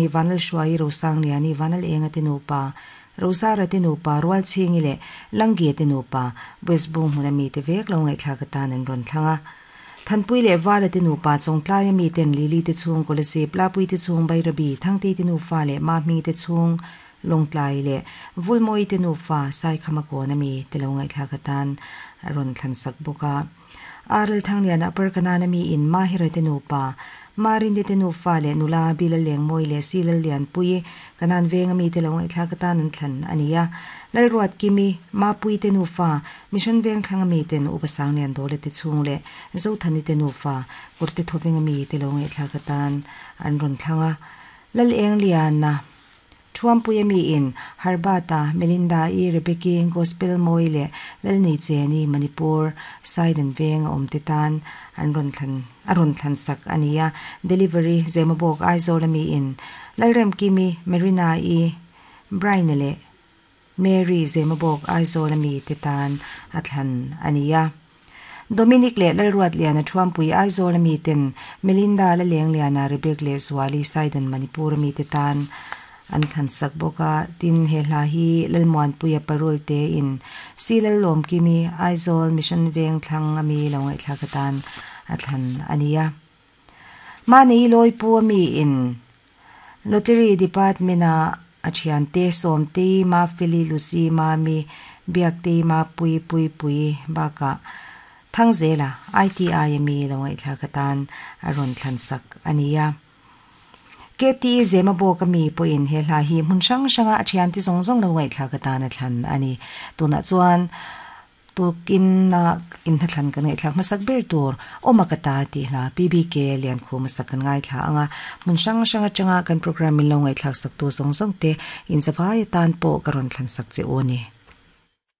Vanlalhruaii Rosangliani Vanlalenga te nupa, Rosara te nupa, Rualchhingi leh Langgie te nupa, West Bung hmuna mite vek lo ngaihthlak atan an rawn thlang a. Thanpui leh Vala te nupa Chawngtlaia miten Lily te chhung Kolasib, Lapui te chhung Bairabi, Thangtei te nufa leh Mahmingi te chhung Lawngtlai leh Vulmawi te nufa Saikhama kawn ami te lo ngaihthlak atan a rawn thlan sak bawk a. Arl Thangliana Upper Kanaan mi in Mahira te nupa, Marinde te nufa leh nula Bila Lengmawi leh Si Lallianpui, Kanaan venga mite lo ngaihthlak atan an thlan a ni a. Lalruatkimi, Mapui te nufa, Mission veng thlanga miten Upa Sanglian Dawla te chhung leh Zothani te nufa, Kawrte Thawvenga mite lo ngaihthlak atan an rawn thlang a. Lalengliana. Thuampuia miin Harbata, Melinda-i, Rebecca-i, Gospel Mawi leh Lalneicheni, Manipur, Saidan veng a awmte tan an rawn thlan a rawn thlan sak a ni a. Delivery, Zemabawk, Aizawla miin Lalremkimi, Marina-i, Brian-a leh Mary, Zemabawk, Aizawla mite tan a thlan a ni a. Dominic leh Lalruatliana Thuampui Aizawla miten Melinda Lalengliana, Rebecca leh Zuali Saidan Manipur-a mite tan an thlan sak bawk a. Tin, he hla hi Lalmuanpuia parul tein Si Lallawmkimi, Aizawl Mission Veng thlang ami lo ngaihthlak atan a thlan a ni a. Mahni Lawipu ami in Lottery Department a a thiante Sawmtei, Mafeli, Lucy, Mami, Biaktei, Mapui, Puipui bakah Thangzela, ITI ami lo ngaihthlak atan a rawn thlan sak a ni a. KT Zemabawk ami pawhin he hla hi hmun hrang hranga a thiante zawng zawng lo ngaihthlak atan a thlan a ni. Tunah chuan Tukin a inhnathlan kan ngaihthlak hmasak ber tur Awma ka ta tih hla PBK Liankhum a sak kan ngaithla ang a, hmun hrang hrang atanga kan program min lo ngaihthlak saktu zawng zawng te inzavai atan pawh ka rawn thlan sak che u a ni.